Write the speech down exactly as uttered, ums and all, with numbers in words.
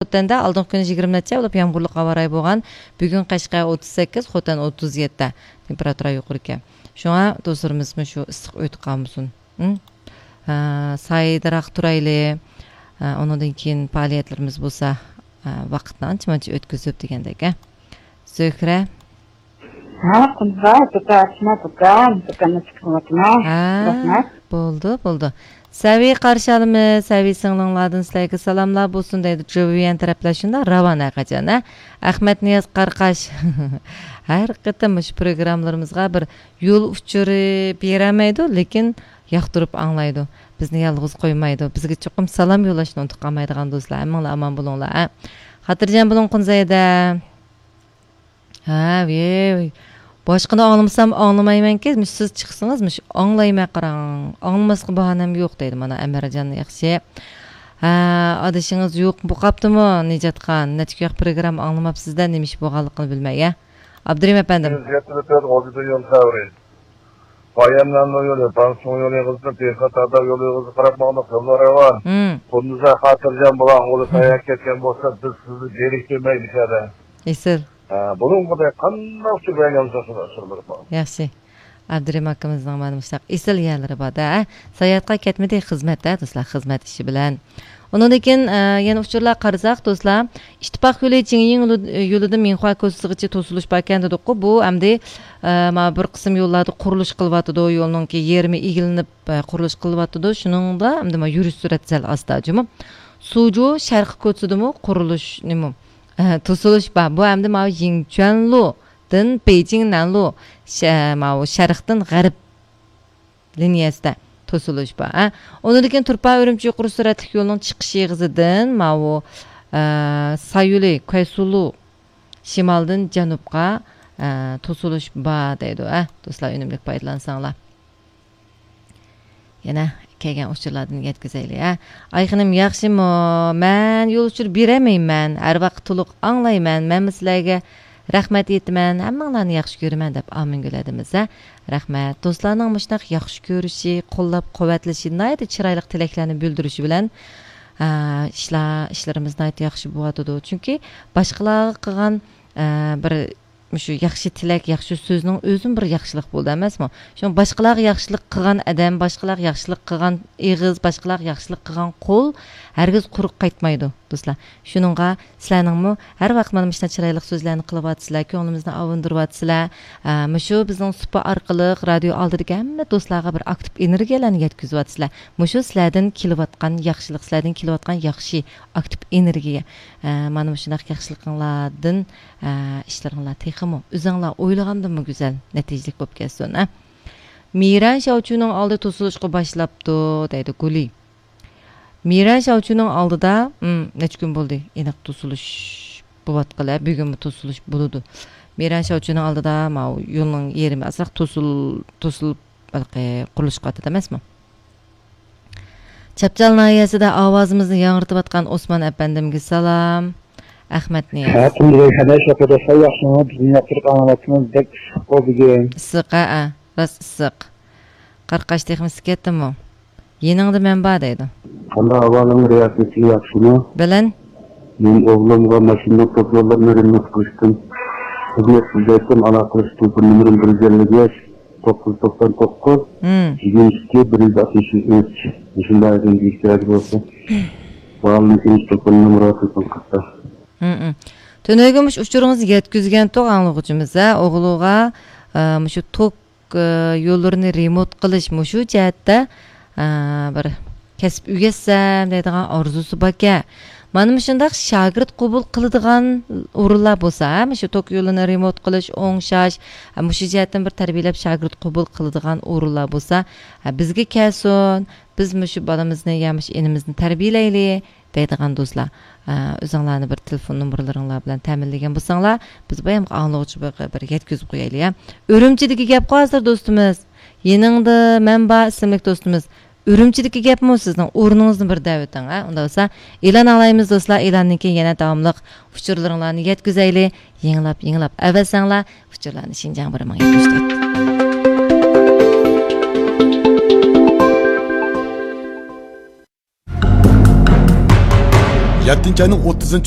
خوتەندە ئالدىنقى كۈنى يىگىرمە نەچچە بولۇپ يامغۇرلۇق ھاۋا رايى بولغان. بۈگۈن قەشقەر ئوتتۇز سەككىز، خوتەن ئوتتۇز يەتتە. تېمپېراتۇرا يۇقىرىكەن. شۇڭا دوستلىرىمىزمۇ شۇ ئىسسىق ئۆيدە قالمىسۇن. ھە، سايىدىراق تۇرايلى. ھە، ئۇنىڭدىن كېيىن پائالىيەتلىرىمىز بولسا، ھە، ۋاقىتنى ئانچە-مۇنچە ئۆتكۈزۈپ دېگەندەك، ھە. زۆھرە. ھە، قۇمزا، دۇكان ئاچما، دۇكان، دۇكان ئېچىپ قىلىۋاتىمەن. ھە، رەھمەت. بولدى، بولدى. سەۋىي قارشى ئالىمىز، سەۋىي سىڭلىڭلاردىن سىلەرگە سالاملار بولسۇن دەيدۇ، جوۋيەن تەرەپلەر شۇنداق راۋان ھەرقاچان، ھە. ئەخمەت نىياز قارقاش. ھەر قېتىم مۇشۇ پروگراممىلىرىمىزغا بىر يول ئۇچۇرى بېرەلمەيدۇ، لېكىن ياقتۇرۇپ ئاڭلايدۇ. بىزنى يالغۇز قويمايدۇ. بىزگە چوقۇم سالام يوللاشنى ئۇنتۇپ قالمايدىغان دوستلار. ھەممىڭلار ئامان بولۇڭلار، ھە. خاتىرجەم بولۇڭ، قۇنزەيدە. ھە، ۋىي. باشقىنى ئاڭلىمىسام ئاڭلىمايمەنكى، مۇشۇ سىز چىقسىڭىز، مۇشۇ ئاڭلايمەن قاراڭ. ئاڭلىماسقا باھانەم يوق دەيدۇ، مانا، ئەمەرجان ياخشى. ھە، ئادىشىڭىز يوق بولۇپقاپتىمۇ، نىجاتخان؟ نەچچە كۈن پروگرامما ئاڭلىماپسىز-دە، نېمە ئىش بولغانلىقىنى بىلمەي، ھە؟ ئابدۇرېھىم ئەپەندىم. يۈز يەتتە تۆت غوجىدىن يول سەۋرى. باياملانما يولى، بانسۇڭ يولى، قىزىل تېخى تادا يولى، قىزىل قاراپ ماڭدۇق، يوللار راۋان. ھىم. قۇندۇزدا خاتىرجەم بولاڭ، ئۇلار ساياھەت كەتكەن بولسا، بىز سىزنى زېرىكتۈرمەيلى شەدە. ئېسىل. ھە، بۇنىڭغۇدەك قانداق تۈگەن يالساقسىز ئاشۇرۇلۇپ. ياخشى. ئابدۇرېھىم ئاكىمىزنىڭ مانا مۇشۇنداق ئېسىل يەرلىرى بار-دە، ھە؟ ساياھەتقا كەتمىدى، خىزمەت، ھە، دوستلار، خىزمەت ئىشى بىلەن. ئۇنىڭدىن كېيىن، ئە، يەنە ئۇچۇرلارغا قارىساق، دوستلار، ئىتتىپاق يولى جىڭيىڭ يولى-، يولىدىن مىنخۇا كوچىسىغىچە توسۇلۇش باركەن دېدۇققۇ. بۇ ئەمدى، ئە، مانا بىر قىسىم يوللاردا قۇرۇلۇش قىلىۋاتىدۇ، يولنىڭكى يېرىمى ئېگىلىنىپ، ئە، قۇرۇلۇش قىلىۋاتىدۇ. شۇنىڭدا ئەمدى مانا يۈرۈش سۈرئەت سەل ئاستا جۇمۇ. سۇجۇ شەرقىي كوچىسىدىمۇ قۇرۇلۇش نېمە، ئە، توسۇلۇش بار. بۇ ئەمدى مانا يىڭچۈەنلۇدىن بېيجىڭ نەنلۇ، شە-، ماۋۇ شەرقتىن غەرب لىنىيەسىدە توسۇلۇش بار، ھە. ئۇنىڭدىن كېيىن تۇرپان ئۈرۈمچى يۇقىرى سۈرئەتلىك يولىنىڭ چىقىش ئېغىزىدىن ماۋۇ، ئە، سايولى، كۇەيسۇلۇ شىمالدىن جەنۇبقا، ئە، توسۇلۇش بار دەيدۇ، ھە. دوستلار، ئۈنۈملۈك پايدىلانساڭلار. يەنە كەلگەن ئۇچۇرلاردىن يەتكۈزەيلى، ھە. ئايخېنىم ياخشىمۇ؟ مەن يول ئۇچۇرى بېرەلمەيمەن. ھەر ۋاقىت تولۇق ئاڭلايمەن. مەنمۇ سىلەرگە رەھمەت ئېيتىمەن، ھەممىڭلارنى ياخشى كۆرىمەن دەپ ئامىنگۈل ھەدىمىز، ھە؟ رەھمەت. دوستلارنىڭ مۇشۇنداق ياخشى كۆرۈشى، قوللاپ قۇۋۋەتلىشى، ناھايىتى چىرايلىق تىلەكلەرنى بىلدۈرۈشى بىلەن، ئە، ئىشلار، ئىشلىرىمىز ناھايىتى ياخشى بولۇۋاتىدۇ. چۈنكى باشقىلارغا قىلغان، ئە، بىر مۇشۇ ياخشى تىلەك، ياخشى سۆزنىڭ ئۆزىمۇ بىر ياخشىلىق بولىدۇ ئەمەسمۇ؟ شۇڭا باشقىلارغا ياخشىلىق قىلغان ئادەم، باشقىلارغا ياخشىلىق قىلغان ئېغىز، باشقىلارغا ياخشىلىق قىلغان قول ھەرگىز قۇرۇق قايتمايدۇ، دوستلار. شۇنىڭغا سىلەرنىڭمۇ ھەر ۋاقىت مانا مۇشۇنداق چىرايلىق سۆزلەرنى قىلىۋاتىسىلەر، كۆڭلىمىزنى ئاۋۇندۇرۇۋاتىسىلەر. ئە، مۇشۇ بىزنىڭ سۇپا ئارقىلىق رادىيو ئالدىدىكى ھەممە دوستلارغا بىر ئاكتىپ ئېنېرگىيەلەرنى يەتكۈزۈۋاتىسىلەر. مۇشۇ سىلەردىن كېلىۋاتقان ياخشىلىق، سىلەردىن كېلىۋاتقان ياخشى ئاكتىپ ئېنېرگىيە. ئە، مانا مۇشۇنداق ياخشىلىقىڭلاردىن، ئە، ئىشلىرىڭلار تېخىمۇ ئۆزۈڭلار ئويلىغاندىنمۇ گۈزەل، نەتىجىلىك بولۇپ كەتسۇن، ئە. مىرەن شاۋچۈنىڭ ئالدى توسۇلۇشقا باشلاپتۇ، دەيدۇ گۇلى. مىرەن شاۋچۈنىڭ ئالدىدا، ئىم، نەچچە كۈن بولدى، ئېنىق توسۇلۇش بولۇۋاتقىلى، بۈگۈنمۇ توسۇلۇش بولىدۇ. مىرەن شاۋچۈنىڭ ئالدىدا ماۋۇ يولنىڭ يېرىمى ئازراق توسۇل-، توسۇلۇپ، ھېلىقى قۇرۇلۇش قىلىۋاتىدۇ ئەمەسمۇ؟ چاپچال ناھىيەسىدە ئاۋازىمىزنى ياڭرىتىۋاتقان ئوسمان ئەپەندىمگە سالام. ئەخمەت نىياز. ھە، قۇمدۇرەي خەدەش، ياخشى دوستلار، ياخشىمۇ؟ بىزنى ياقتۇرۇپ ئاڭلاۋاتىمىز، بەك ئىسسىق بۇ بۈگۈن. ئىسسىق، ھە، ھە، راست ئىسسىق. قارقاش تېخىمۇ ئىسسىپ كەتتىمۇ؟ يېنىڭدا مەن بار دەيدۇ. قانداق ئەھۋالىڭ، رىياسەتچى، ياخشىمۇ؟ بىلەن. مەن ئوغلۇمغا ماشىنىنىڭ توك يوللىرىنى رېمونت قىلىشتىن خىزمەت سىزدەيتتىم، ئالاقىلىشىش تېلېفون نومۇرۇم بىر يۈز ئەللىك بەش، توققۇز يۈز توقسان توققۇز، مم، يىگىرمە ئىككى، بىر يۈز ئاتمىش ئۈچ. مۇشۇنداق ئىشتىياق بولسا، باھالىنىڭ تېلېفون نومۇرى تېلېفون قىلسا. مم، مم. تۈنۈگۈن مۇشۇ ئۇچۇرىڭىزنى يەتكۈزگەنتۇق ئاڭلىغۇچىمىز، ھە، ئوغلىغا، ئە، مۇشۇ توك ئە، يوللىرىنى رېمونت قىلىش مۇشۇ جەھەتتە، ئە، بىر كەسىپ ئۆگەتسەم دەيدىغان ئارزۇسى باركەن. مانا مۇشۇنداق شاگىرت قوبۇل قىلىدىغان ئورۇنلار بولسا، ھە، مۇشۇ توك يولىنى رېمونت قىلىش، ئوڭشاش، ھە، مۇشۇ جەھەتتىن بىر تەربىيەلەپ شاگىرت قوبۇل قىلىدىغان ئورۇنلار بولسا، ھە، بىزگە كەلسۇن، بىز مۇشۇ بالىمىزنى يا مۇشۇ ئىنىمىزنى تەربىيەلەيلى. دەيدىغان دوستلار، ئە، ئۆزۈڭلارنى بىر تېلېفون نومۇرلىرىڭلار بىلەن تەمىنلىگەن بولساڭلار، بىز بايامقى ئاڭلىغۇچىغا بىر يەتكۈزۈپ قويايلى، يا. ئۈرۈمچىدىكى گەپقۇ ھازىر دوستىمىز. يېنىڭدا مەن بار ئىسىملىك دوستىمىز. ئۈرۈمچىدىكى گەپمۇ سىزنىڭ ئورنىڭىزنى بىر دەۋېتىڭ، ھە؟ ئۇنداق بولسا ئېلان ئاڭلايمىز دوستلار، ئېلاندىن كېيىن يەنە داۋاملىق ئۇچۇرلىرىڭلارنى يەتكۈزەيلى. يېڭىلاپ، يېڭىلاپ ئەۋەتسەڭلار، ئۇچۇرلارنى شىنجاڭ بىر مىڭ يەتمىش تۆت. يەتتىنچى ئاينىڭ ئوتتۇزىنچى